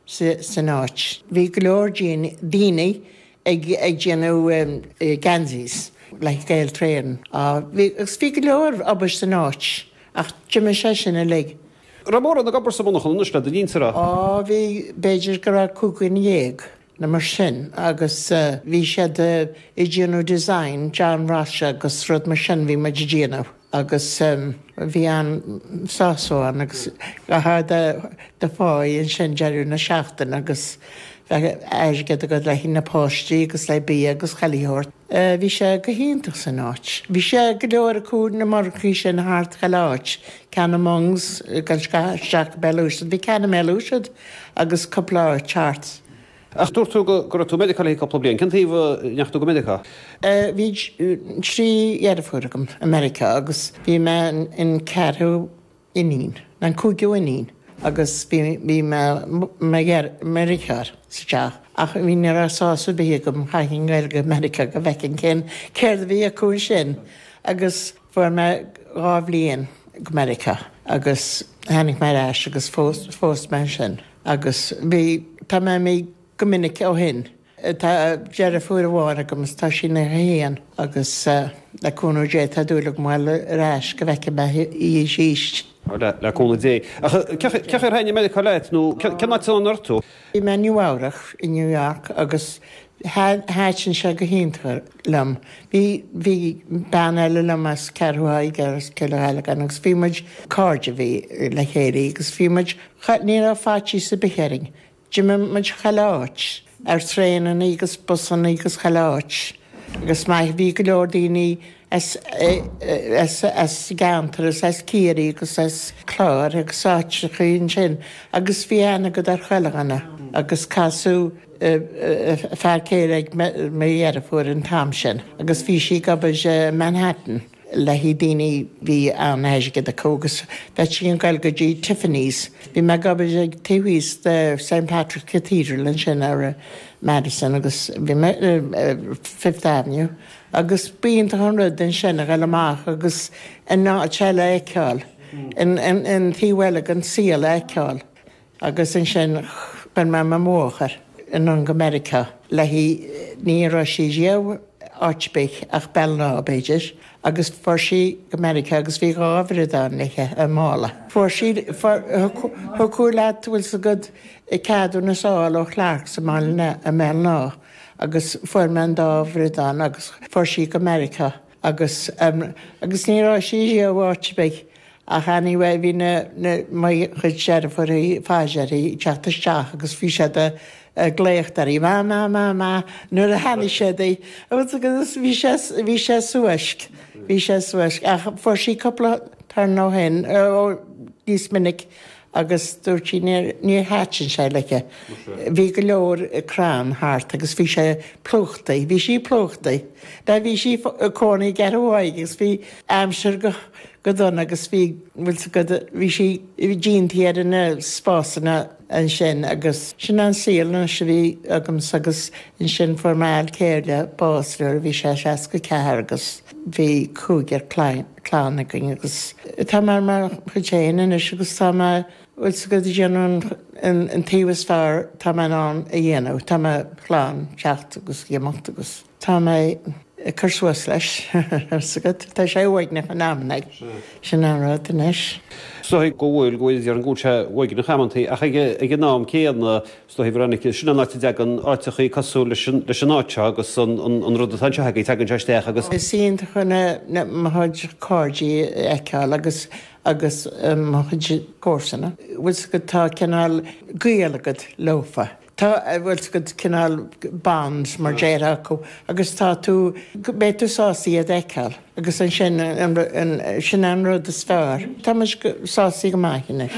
san áit. Bhí go leor daoine ag déanamh geansaís le Gaeltrain. Agus bhí go leor obair san áit ach d'imigh sé sin uilig. Raibh mórán ag obair sa mhonarchan anois le do linnse, raibh? Á, bhí, b'fhéidir go raibh 15 nó mar sin agus bhí siad ag déanamh design, John Ross agus rud mar sin bhí muid ag déanamh agus bhí an-sásamh ann agus gheofá do pháí ansin deireadh na seachtaine agus bheadh airgead agat le haghaidh na páistí agus le bia agus chuile shórt. Bhí sé go hiontach san áit. Bhí sé go leor acu na monarchaí sin thart chuile áit, ceann i Monks, ag dul isteach go Béal Ùisdean, bhí ceann i mBéal Ùisdean agus cúpla áit thart. Ach dúirt tú go raibh tú i Meiriceá le cúpla bliain. Cén taobh a ndeachaigh tú go Meiriceá? Bhí trí dheirfiúr agam i Meiriceá agus bhí mé an ceathrú iníon, an cúigiú iníon agus bhí bhí mo dheartháir sa teach ach bhí ní raibh sásamh ar bith agam chaithfinn goil go Meiriceá go bhfeicfinn cén céard a bhí acu ansin agus fuair mé dhá bhliain go Meiriceá agus tháinig mé ar ais agus phós phós mé ansin agus bhí tá mé imithe go minic ó shin. Tá deirfiúr amháin agam is tá sí ina 1 agus le cúnamh Dé tá dúil agam a ghoil ar ais go bhfeicfidh mé í arís. Le cúnamh Dé. Ach cén chaoi ar thaitnigh Meiriceá leat nó cén áit a raibh tú? Bhí mé i Nua Eabhrac, i New York, agus thaitin sé go hiontach liom. Bhí bhí bean eile liom as Ceathrú Thaidhg as Cill Ghallagáin agus bhí muid cairde bhí le chéile agus bhí muid ní raibh faitíos ar bith orainn. D'imigh muid chuile áit, ar traenannaí agus busannaí agus chuile áit agus maith bhí go leor daoine as as as gceantar is as Ciarraí agus as Clár agus áiteachaí ansin agus bhí aithne agat ar chuile dhuine agus casadh fear céile ag mo dheirfiúr an t-am sin agus bhí sí ag obair i Manhattan. le haghaidh daoine bhí an-airgead acu agus bheití ag goil go dtí Tiffany's. Bhí mé ag obair ag taobh thíos de St Patrick's Cathedral ansin ar Madison agus bhí mé Fifth Avenue agus b'iontach an rud ansin a ghoil amach agus an áit eile a fheiceáil, an taobh eile den saol a fheiceáil. Agus ansin chuir mé mo mháthair anonn go Meiriceá léi, ní raibh sí riamh áit ar bith ach Béal Átha b'fhéidir, agus fuair sí go Meiriceá agus bhí dhá bhradán léi i mála. Fuair sí, thiocfadh leat, bhfuil 's agat, ceadúnas a fháil ó Clarks i mBaile i mBéal Átha agus fuair mé an dá bhradán agus fuair sí go Meiriceá agus, agus ní raibh sí riamh áit ar bith Ach anyway bhí na, na, mo chuid deirfiúraí, faitíos uirthi ag teacht isteach agus bhí siad ag glaoch uirthi, ma, ma, ma, ma, nuair a chonaic siad í. Agus bhí sé, bhí sé suaisc, bhí sé suaisc. Ach fuair sí cúpla turn ó shin, ó, níos minic agus dúirt sí níor, níor thaitin sé léi. Bhí go leor crann thart agus bhí sé plúchtaí, bhí sí plúchtaí. Bhí sí ag cónaí i gCeathrú Thaidhg agus bhí aimsir go, go dona agus bhí, bhfuil 's agat, bhí sí díontaí ar na spásanna ansin agus sin an saol anois a bhí agamsa agus ansin fuair m'fhear céile bás nuair a bhí sé 64 agus bhí cúigear clann againn agus tá mé ar mo chuid féin anois agus tá mé, bhfuil 's agat, ag déanamh an taobh is fearr tá mé in ann a dhéanamh, tá mo chlann teacht agus imeacht agus. Tá mé ag cur suas leis, 's agat. Tá sé uaigneach in amanna. Sin an rud anois. Is dóigh go bhfuil, go bhfuil, déarfainn go bhfuil sé uaigneach amantaí, ach ag an am céanna, is dóigh, Veronica, sin an áit a dtagann áiteachaí cosúil leis an, leis an áit seo agus an, an, an rud atá anseo agaibh, tagann sé isteach agus. Is iontach na, na, mo chuid cairde a fheiceáil agus, agus mo chuid comharsana. Bhfuil 's agat, tá cineál gaol agat leofa. Tá, bhfuil 's agat, cineál bond mar déarfá acu agus tá tú, beidh tú sásta iad a fheiceáil agus ansin, sin an rud is fearr. Tá muid sásta go maith anois.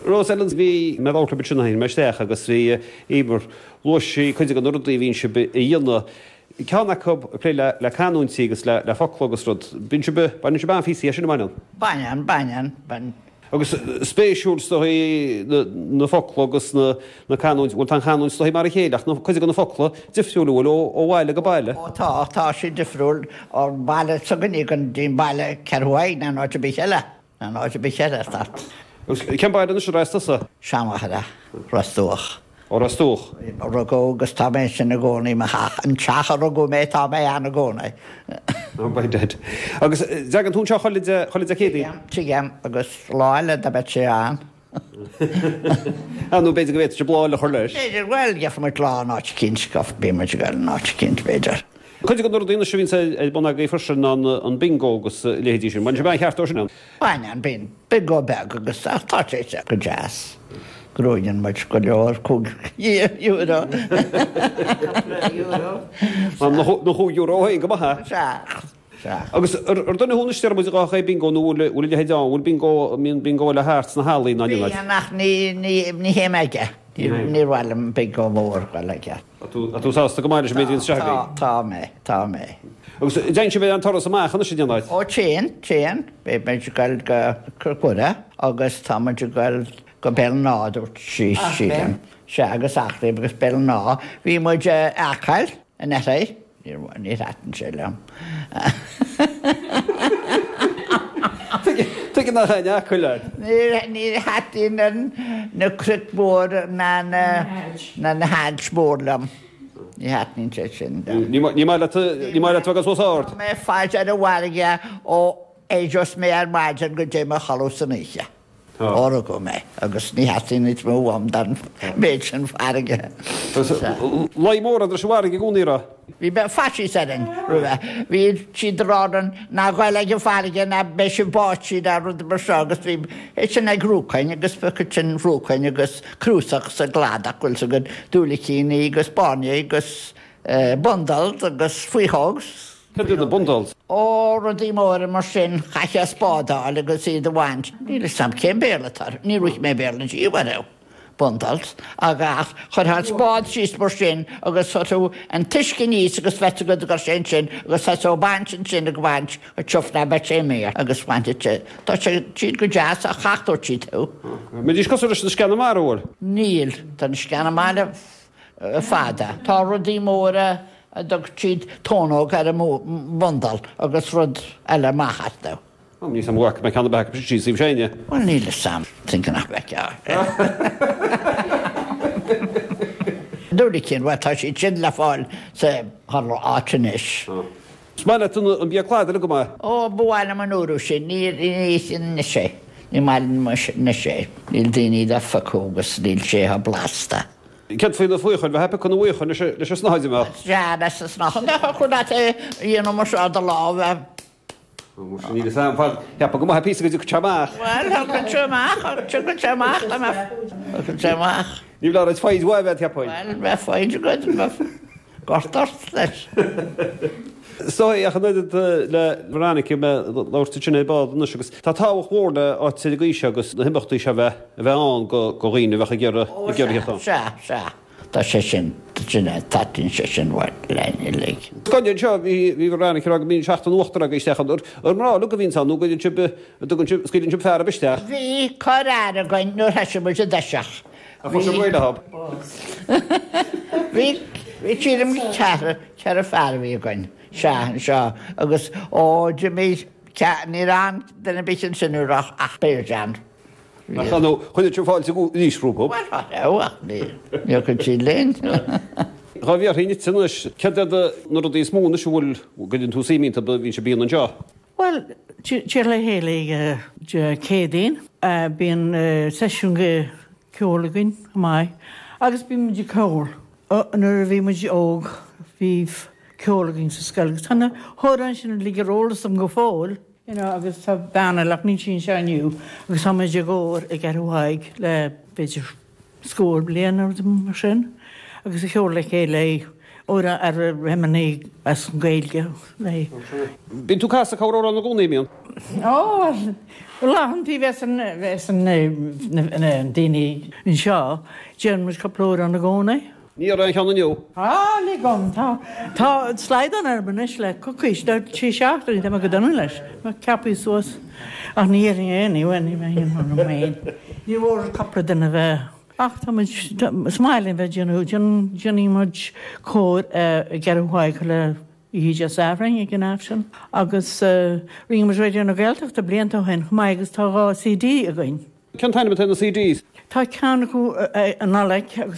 Rose Ellen, bhí mé ag labhairt libh ansin, tháinig mé isteach agus bhí Emer, luaigh sí cuid de na rudaí a bhíonn sibh a dhéanamh, ceann acu ag plé le canúintí agus le focla agus rud. Bíonn sibh, baineann sibh an-phíosaí as sin, an mbaineann? Baineann, baineann, baineann. Agus spéisiúil is dóigh na focla agus na canúint, bhuel tá an chanúint is dóigh mar a chéile ach cuid de na focla difriúil an bhfuil ó bhaile go baile. Ó tá, tá siad difriúil ón baile s'againne go dtí an baile Ceathrú Thaidhg ná an áit ar bith eile, ná an áit ar bith eile, tá. Agus cén baile anois ar as tusa? Seanmhachaire, Ros Dumhach. Ó Ros Dumhach. Rugadh agus tá mé ansin i gcónaí, mo theach, an teach a rugadh mé, tá mé ann i gcónaí. Oh by dad. Agus dtagann tú anseo chuile Dé, chuile Dé Céadaoin? Tigim, agus lá eile dá mbeadh sé ann. Ah, nó b'fhéidir go bhféadfadh sibh lá eile a chur leis. B'fhéidir, bhuel, gheobhaidh muid lá in áit eicínt, bíonn muid ag dul in áit eicínt, b'fhéidir. Cuid de na rudaí anois a bhíonns ar bun agaibh freisin ná an bingo agus a leithéidí sin. Baineann sibh an-cheart ó sin ann. Baineann, bíonn bingo beag agus ach tá sé sé go deas. Gnóthaíonn muid go leor, €5. Na €5 féin go maith é. Sea, sea. Agus ar duine thú anois, deir muid, dhá chaoi bingo nó bhfuil a leithéid ann, bhfuil bingo, mbíonn bingo eile thart sna hallaí ná níl? Bíonn ach ní, ní, ní théim aige. Ní mhaith liom bingo mór dul aige. Tá tú sásta go maith leis an méid a bhíonn isteach agaibh? Tá, tá mé, tá mé. Agus dtéann sibh ar aon turas amach anois in aon áit? Ó téann, téann. Beidh muid ag dul go Cnoc Mhuire agus tá muid ag dul go Béal an Átha, dúirt sí, sílim. Sea, agus Eachléim agus Béal an Átha. Bhí muid i Acaill anuraidh. Níor thaitin sé liom. Tuige nár thaitin Acaill leat? Níor thaitin na cnoic mhóra ná na hailt mhór liom. Ní thaitníonn sé sin liom. Ní maith leat ní maith leat bheith ag dul suas ard? Tá mé faighte ar an bhfarraige ó éireos mé ar maidin go dtéim a chodladh san oíche. Ó rugadh mé agus ní theastaíonn níos mó uaim den mhéid sin farraige. Luí mór leis an bhfarraige i gcónaí, raibh? Bhí faitíos orainn roimhe. Bhí siad ag rá linn ná gabh ag an bhfarraige ná beidh sibh báite ná rud mar seo agus bhí é sin ag ruacain agus bheadh sin ruacain agus cnuasach sa gcladach bhfuil 's agat diúilicíní agus bairnigh agus bundles agus faochógs. Cad iad na bundles? Ó, rudaí móra mar sin, chaithfeá spád a fháil agus iad a bhaint. Níl 'fhios a'm cén Béarla atá orthu, níor ith mé Béarla riamh orthu. Bundles. Agus chuirfeá an spád síos mar sin agus chuirfeá an t-uisce aníos agus bheadh agat go raibh sé ansin agus thosódh ag baint ansin ag baint an tiuf ná beadh sé imithe agus bhainfeadh sé, tá sé, siad go deas ach thachtódh siad thú. Mbeidís cosúil leis na sceana mara, bhfuil? Níl, tá na sceana mara fada. Tá rudaí móra a dtug siad tónóg ar an mbundle agus rud eile amach astu. Níl 'fhios a'm an bhfaca mé ceann ar bith acu sin síos taobh s'againne. Bhuel níl 'fhios a'm, think nach bhfeicfeá. Diúilicín, bhuel tá siad sin le fáil sa chuile áit anois. Is maith leat an bia cladaigh go maith? Ó, ba mhaith liom an uair sin, ní ithim anois é, ní maith liom anois é, níl daoine le phiocadh agus níl sé chomh blasta. Céard faoi na faochain, bheith ag piocadh na bhfaochan leis an snáthaid, an mbeadh? Sea, leis an snáthaid, thiocfadh leat é a dhéanamh mar seo i do lámh. Ó, muise, níl 'fhios a'm, cheapfá go maith píosa go dtiocfadh sé amach. Bhuel, thiocfadh sé amach, thiocfadh sé amach, dá mbeadh, thiocfadh sé amach. Ní bheadh ort foighid mhaith a bheith, cheapfainn. Bhuel, bheadh foighid agat, bheadh gort ort leis. Is dóigh, ach an oiread le Veronica, mé ag labhairt ansin ar ball anois agus tá tábhacht mhór le áit ar an gcaoi seo agus na himeachtaí seo a bheith a bheith ann do dhaoine a bheadh ag iarraidh ag iarraidh theacht ann. Sea, sea, tá sé sin, sin é, taitníonn sé sin linn uilig. Gan anseo, bhí bhí Veronica ag rá go mbíonn seachtain uachtar agaibh isteach ann. Ar mná uilig a bhíonns ann nó go dtugann sibh, an dtugann sibh, scaoileann sibh fear isteach? Bhí corrfhear againn nuair thoisigh muid i dtoiseach. Ach chuir sibh réidh leo. Bhí, bhí sílim ceathrar, ceathrar fear a bhí againn, sea, anseo, agus ó d'imigh, ní raibh aon duine ar bith ansin a raibh ach beirt ann. Ach ar ndóigh, chuir sibh fáilte arís rompu. Bhuel, cha raibh, ach ní, níor chuir siad linn. Dhá bhfiafraí díot anois, céard iad na rudaí is mó anois a bhfuil, go gcuireann tú suim iontu, a bhíonn sibh a dhéanamh anseo? Bhuel, téir le chéile Dé Céadaoin. Bíonn seisiún ceoil againn chomh maith agus bíonn muid ag ceol. Nuair a bhí muid óg bhí ceol againn sa scoil agus tá na hamhráin sin uilig ar eolas agam go fóill. You know, agus tá bean eile ach níl sí anseo inniu agus tá muid i gcór i gCeathrú Thaidhg le b'fhéidir scór bliain nó rud mar sin agus ag ceol le chéile amhráin ar hymnanna as an Ghaeilge. Bíonn tú ag casadh corramhrán i gcónaí, an mbíonn? Ó, laethanta bheas an bheas an na daoine anseo, déanann muid cúpla amhrán i gcónaí. Ní raibh aon cheann inniu. Á, lig dom, tá tá slaghdán orm anois le coicís, le trí seachtainí, tá mé go dona leis, mé ceaptha suas. Ach ní dhéarfainn é, ní bheinn, ní bheinn orm féin. Ní mór cúpla duine a bheith, ach tá muid, is maith linn bheith ag déanamh, déanann muid cór i gCeathrú Thaidhg le oíche Dé Sathairn ag an Aifreann agus rinne muid Raidió na Gaeltachta blianta ó shin chomh maith agus tá 2 CD againn. Cén t-ainm atá ar na CDs? Tá ceann acu an Nollaig agus an.